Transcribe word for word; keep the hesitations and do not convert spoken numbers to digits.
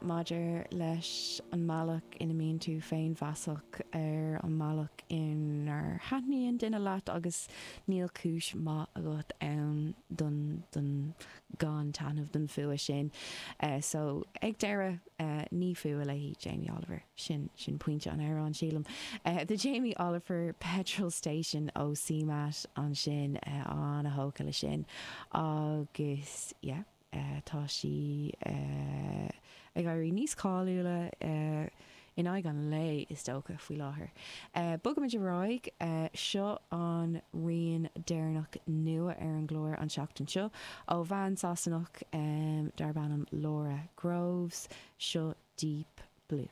maidir leis an mbealach ina mbíonn tú féinmheasach ar an mbealach inar thaitníonn duine leat agus níl cúis maith agat ann don don gan taitneamh don fuath sin. Uh, so ag deireadh uh, ní fuath léi Jamie Oliver sin sin pointe an amhráin sílim. Uh, the Jamie Oliver Petrol Station ó CMAT ansin uh, an-tógtha le sin agus yeah, uh, tá sí uh, ag éirí níos cáiliúla uh, in aghaidh an lae is dócha faoi láthair. Uh, Bogaimid ar aghaidh uh, seo an rian deireanach nua ar an gclár an seachtain seo ó bhean Sasanach um, darb ainm Laura Groves seo Deep Blue.